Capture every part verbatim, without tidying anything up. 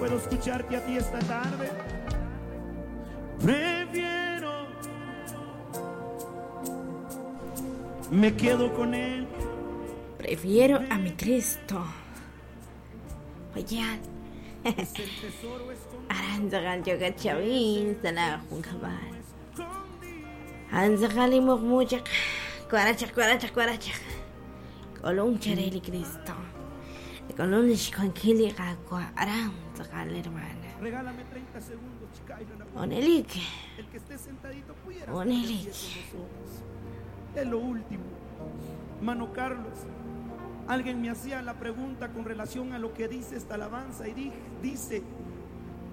Puedo escucharte a ti esta tarde. Prefiero. Me quedo con él. Prefiero a mi Cristo. Oye, Aranzagal yoga chavin, sana junkabal. Anzagal y muchak, cuarachak, cuarachak, cuarachak. Colón chareli Cristo. Colón ishkonkili gakwa, aranzagal hermana. Regálame treinta segundos, chica. Onelik. El que esté sentadito pudiera. Onelik. Es lo último. Mano Carlos, alguien me hacía la pregunta con relación a lo que dice esta alabanza y dije, dice,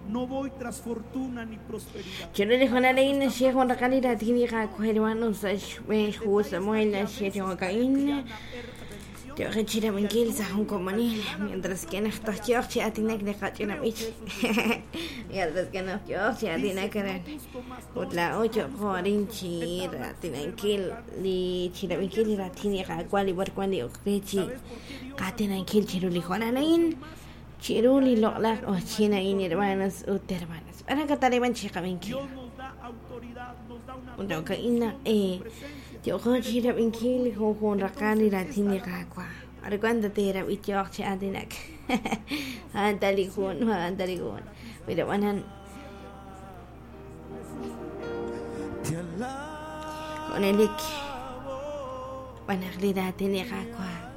no voy tras fortuna ni prosperidad. Yo le digo a la reina, si es una calidad típica, hermanos, Samuel, mientras que no mientras que no la ocho Chiruli lola o china in hermanas u hermanas. Ahora que taliban chica benki. Undoka ina eh yo con chira benki con con rakani latini kakwa. Ahora cuando te era bicho che adinak. Andali con andali con. Pero wanan con elik. Wanagli latini kakwa.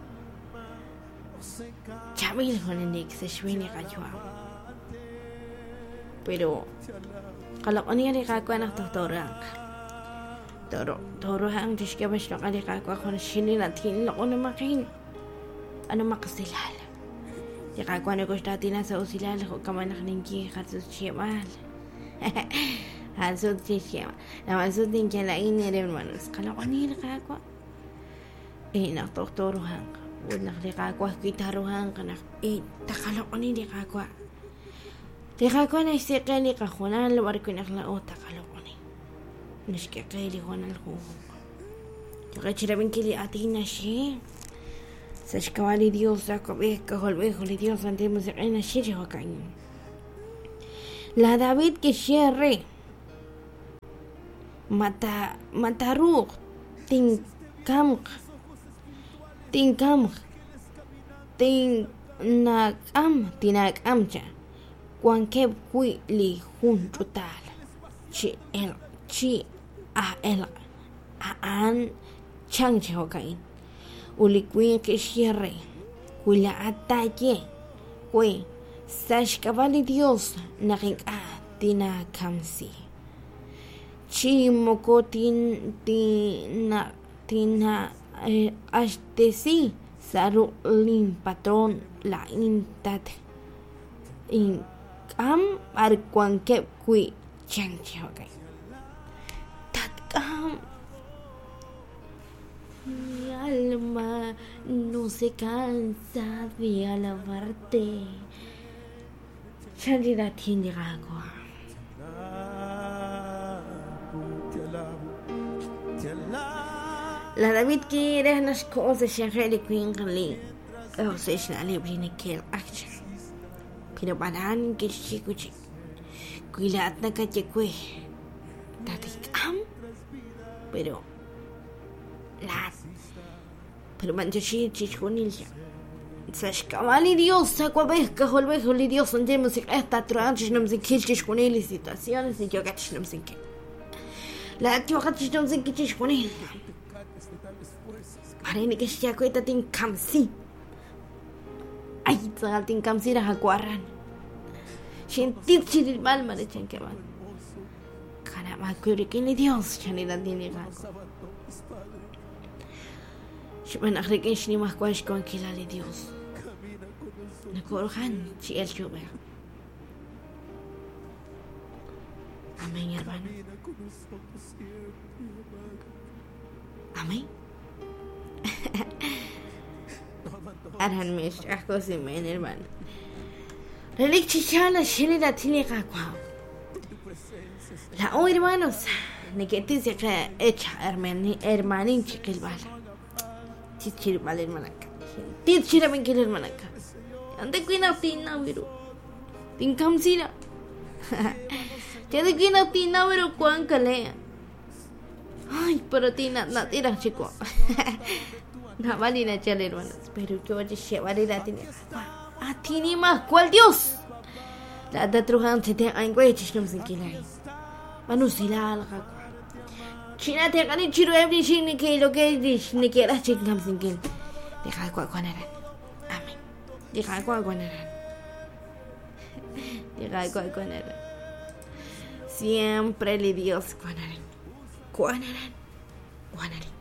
Chavil con se suene cayó. Pero qalaqoni riqakwa naqtoqtoraq. Toro toro han tishkabash riqakwa con shinina tin loqonomaqin. Ano maqsilal. Riqakwa nukushtatina sausilal kamanaqninki hatsus chimal. Hatsus chimal. La masut tinkalain hermanos. Qalaqoni riqakwa. Eh naqtoqtoro han. ونغلقاكوا كيتاروهان قناخ إيه تخلقني لقاكوا لقاكوا نشتقي لقاخونا لوركو نغلا تخلقني نشكي لقونا الخوخ تغير من كلي أتينا شيء سشكوالي ديوس أكو كهول بيخو لديوس أنت موسيقينا شيء هو كاين لا دافيد كشيري متى متى روح تنكمق Tinkamj, tinakam, tinakamcha, cuanque kui li junchutal, chi el, chi a el, a an, chanche hokain, ulicuin que cierre, cuila ataye, cui, sashkavali Dios, nakin a tinakamsi, chi mokotin tina, tina, Ashtesi saru lin patrón la intat in am arcuanque kui chanche okay tatkam mi alma no se cansa de alabarte chanchi la tiene agua. La David quiere las cosas que o sea, la libre que el action. Pero baran que chico chico. Cuidatna que cue. Tatikam. Pero la pero manchashi chichonilla. Sashkavali Dios, sacuabeja, holbejo, Dios, andemos esta tranche, no me quilchis situaciones y yo gach no me La tío gach no me quilchis. Parece que se acuesta tin kamsi. Ay, tzagal tin kamsi ra hakuarran. Shentit chiril mal marechan que van. Caramba, que Dios, chanida tiene gaco. Shman akrikin shni mahkwash con kilali Dios. Nakorhan chi el chuber. Amén, hermano. Amén. Arhan mish akosimen hermano. Relik chichana shilida tiniqa kwa. La o hermanos, niketi que hecha hermani hermanin chiquilbal. Chichilbal hermanaka. Tichira menkil hermanaka. Ande kuina tina viru. Tinkamsila. Chadikina tina pero kuankale. Ay, pero tina na tira chico. No valina chale hermanos, pero yo llevaré tiene. A ti más cuál Dios. La da trujan te te angüe chisnum sin kilai. Manusila al China te gani chiro every shing que lo que dish ni quiera chingam sin kil. Deja cuacuanaran. Amén. Deja cuacuanaran. Deja cuacuanaran. Siempre le Dios cuanaran. Cuanaran. Cuanaran.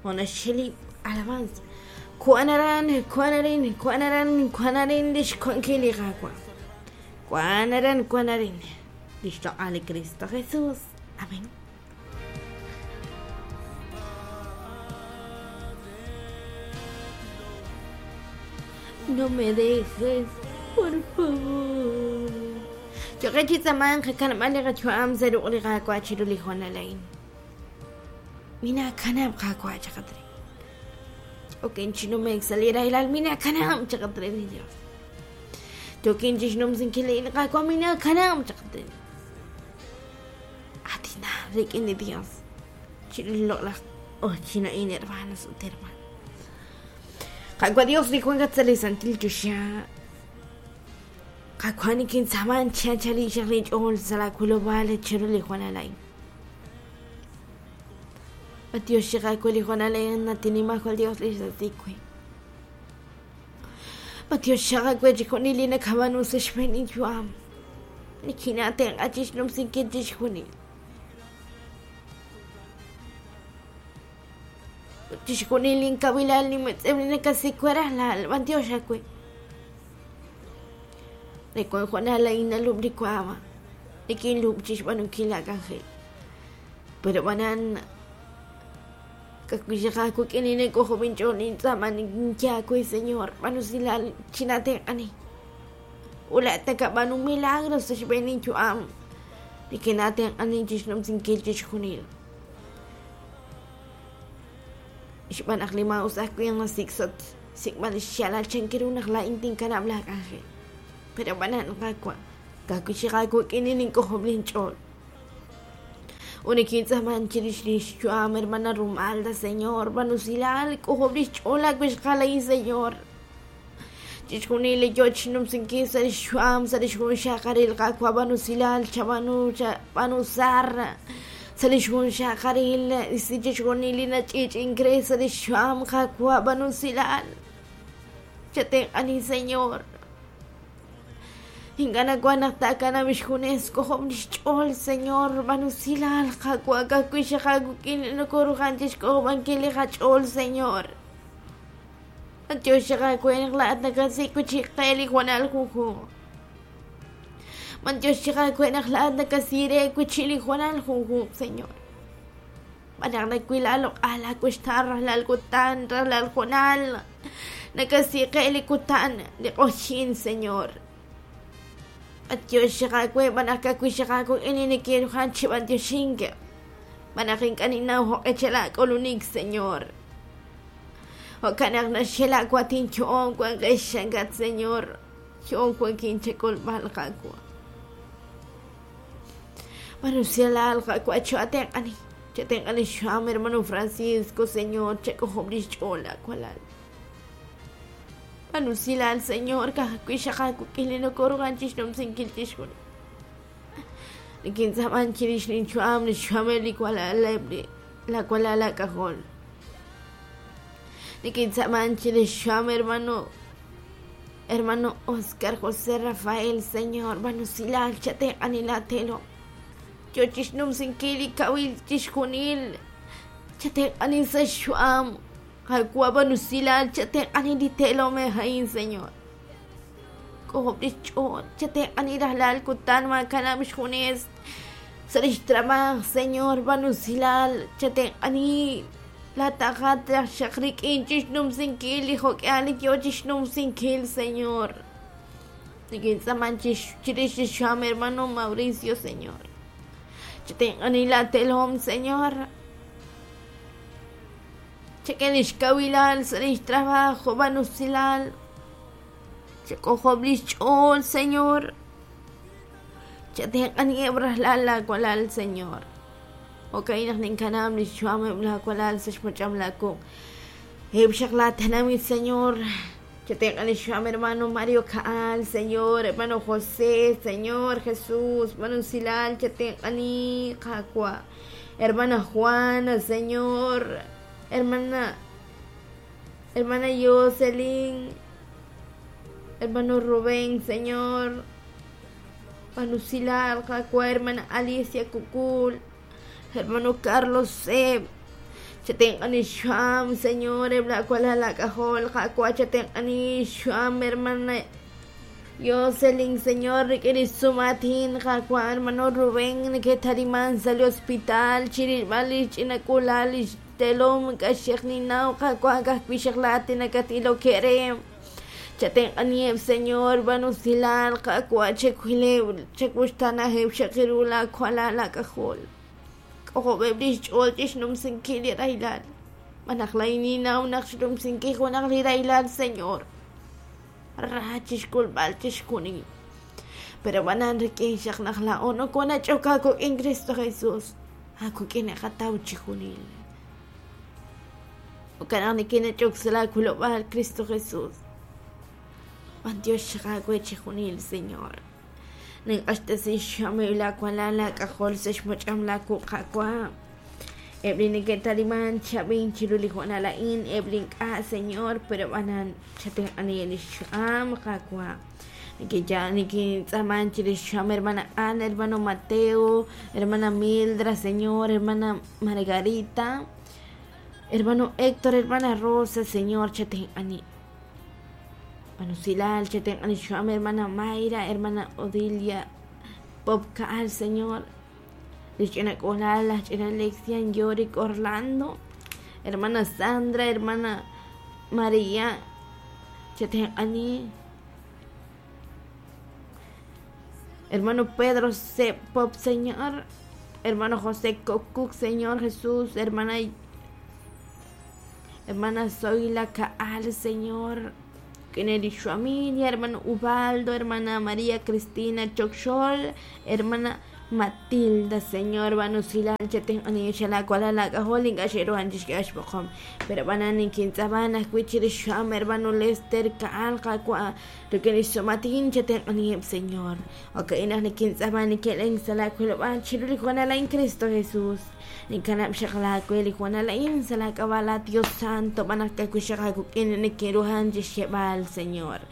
Ona sheli alabanza. Cuanaran, cuanarin, cuanaran, cuanarin, dish cuankili gagua. Cuanaran, cuanarin. Listo al Cristo Jesús. Amén. No me dejes, por favor. Yo que chitaman que canamale gachuam zeru liga cuachiru lijuanalain. Mina canam kakua chakatre. Ok, chino me exaliera el almina canam chakatre ni Dios. Tokin chisnum sin kile kakua mina canam chakatre. Atina rikin de Dios. Chilo la oh chino in hermanos hermanos. Kakua Dios ni Juan Gatzali Santil Chusha. Kakua ni kin saman chachali charlich ol salakulobale chiruli Juan Alain. Dios llega con Juan Alain natinima con Dios les dice. Dios llega con Nilina Cabanus Shmenin Juam. Nikina ten achisnum sin kitish junil. Tishkunilin kabilal ni metzemlin kasicuera la albantiosha cue. De con Juana la ina lubricuaba. De quien lubchish banukila cangel. Pero banan kakuyaku kinine cojo pinchonin zaman yakui señor manusilal chinate ani. Ula takabanu milagros se chuam. De que nate ani chisnum sin kilchishkunil. Xbanaq lima usaq kuyan siksot sikman xalal chankirunaq la intin kanabla ángel pero banan qakwa kakuxiqaku k'ininin k'ojoblin ch'ol unikin tz'aman chirix lix chuam hermana Rumalda señor banusilal k'ojoblix ch'ol akuixqalay señor chixkunili yoch numsinki sarix chuam sarix junxaqaril qakwa banusilal chabanu banusar Salishun shakaril, isichishgunilina chich ingresa de sham kakwa banusilal. Chaten ani señor. Ingana guanaktakana mishkunesco homnichol señor banusilal kakwa kakuishakukin no korujanchishko bankili hachol señor. Antioshakakuen la atnakasikuchiqeli juanal juju. Mantioshika kuena la kasire kuchili juanal junju señor. Managna kuilalo ala kushtar la kutan la juanal. Nakasiqeli kutan liqoshin señor. Antioshika kue manaka kuishika ku inini quiero hanchi mantioshinke. Manakin kanina ho echela kolunik señor. O kanagna shela kuatincho kuan geshangat señor. Chon kuan kinche kol malkakua. Manusialal kakua chatenani. Chatenani sham hermano Francisco, señor, checo hombris chola kualal. Manusilal, señor, kakuishakaku kilino koruganchish nom sinkiltishkuni. Nikinzaman chirish ninchuam nishuameli kualalebli la kualala cajón. Nikinzaman chirish shuam hermano hermano Oscar José Rafael, señor, manusilal chatenanilatelo. Yochishnum sinkili kawil tishkunil chaten anin sa shuam kakwa banusilal chaten anin ditelo me hain señor kohoblich chaten anin rahlal kutan makana mishkunes sarish trabajo señor banusilal chaten ani la tajat shakrik inchishnum sinkili hokyali yochishnum sinkil señor Nikinzaman chirish shuam hermano Mauricio señor Chaten señor. Chequen ixkawilal sa lix trabajo banusilal. Chekojoblis ch'ol, Señor. Chatenq'aniheb' rajlal laawalal, Señor. Jo'ka'in naq ninkanab' li xyu'ameb' laawalal sa' xmach'am laakuq'. Eb' xaq laatenamit, Señor. Chatenq'ani xyu'am hermano Mario Kaal, Señor, hermano José, Señor Jesús, hermano Silal, chatenq'ani Qaawa'. Hermana Juana, Señor, hermana hermana Jocelyn, hermano Rubén, Señor, hermano Silal, Qaawa', hermana Alicia Kukul, hermano Carlos Seb. Chatenq'ani xyu'am, Señor, eb' laawalal laak'ajol, Qaawa', chatenq'ani xyu'am, hermana Jocelyn, Señor, rik'in li xsumaatin, Qaawa', hermano Rubén, neke'taliman sa' li hospital, chirilb'al li ch'ina k'uula'al li xtelom, k'axej ninnaw, Qaawa', ka'ajwi' xaq laat nakatilok re. Chatenq'aniheb', Señor, b'an usilal, Qaawa', chawileb', chawuxtaanaheb' xaq ru laawalal laak'ajol. K'ojob'eb' li xch'ool chixnumsinkil li rahilal. Manaq laa'in ninnaw naq xnumsinkil junaq li rahilal, Señor. Ra chixk'ulb'al chixjunil. Pero b'anan rik'in xaq naq laa'o nokonach'ok aakuk'in Cristo Jesús. Aakuk'in naqataw chijunil. Jo'kan naq nikinach'ok sa' laakulob'aal Cristo Jesús. B'antiox xaq aawe chijunil, Señor. Ninq'axtesi xyu'ameb' laawalal laak'ajol sa' xmach'am laakuq' Qaawa'. Eb' li neke'taliman chab'in chiru li hoonal a'in, eb' li ink'a', Señor, pero b'anan chatenq'ani li xyu'am Qaawa'. Nikinya nikintz'aaman chirix xyu'am hermana Ana, hermano Mateo, hermana Mildra, Señor, hermana Margarita, hermano Héctor, hermana Rosa, Señor, chatenq'ani. Hermano Silal, chatenq'ani xyu'am hermana Mayra, hermana Odilia, Popkaal, Señor. Ch'ina k'uula'al, ch'ina Alexian, Yorick, Orlando, hermana Sandra, hermana María, chatenq'ani. Hermano Pedro C. Pop, Señor, hermano José Cocuc, Señor Jesús, hermana hermana Zoila Kaal, Señor, Kennedy familia, hermano Ubaldo, hermana María Cristina Chocxol, hermana Matilda, Señor, banusilal, chatenq'ani xalakualal laak'ajol ink'a' xe'ruhan pero b'anan ninkintz'ab'an ajwi' chirix xyu'am hermano Lester Kaal Qaawa' rik'in li xsumatin chatenq'aniheb', Señor. Jo'ka'in naq nikintz'ab'an nike'len sa' laakulob'aal chiru li hoonal a'in Cristo Jesús. Ninkanab' xaq laawe li hoonal a'in sa' laak'ab'a' la Dios Santo b'an naq ka'ajwi' xaq aakuk'in nikinruhan chixye'b'al, Señor.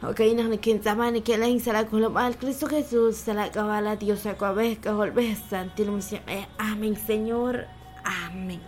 Jo'ka'in naq nikintz'ab'an nike'len sa' laakulob'aal Cristo Jesús sa' laak'ab'a' la Dios Awab'ej K'ajolb'ej Santil Musiq'ej. Amén, Señor. Amén.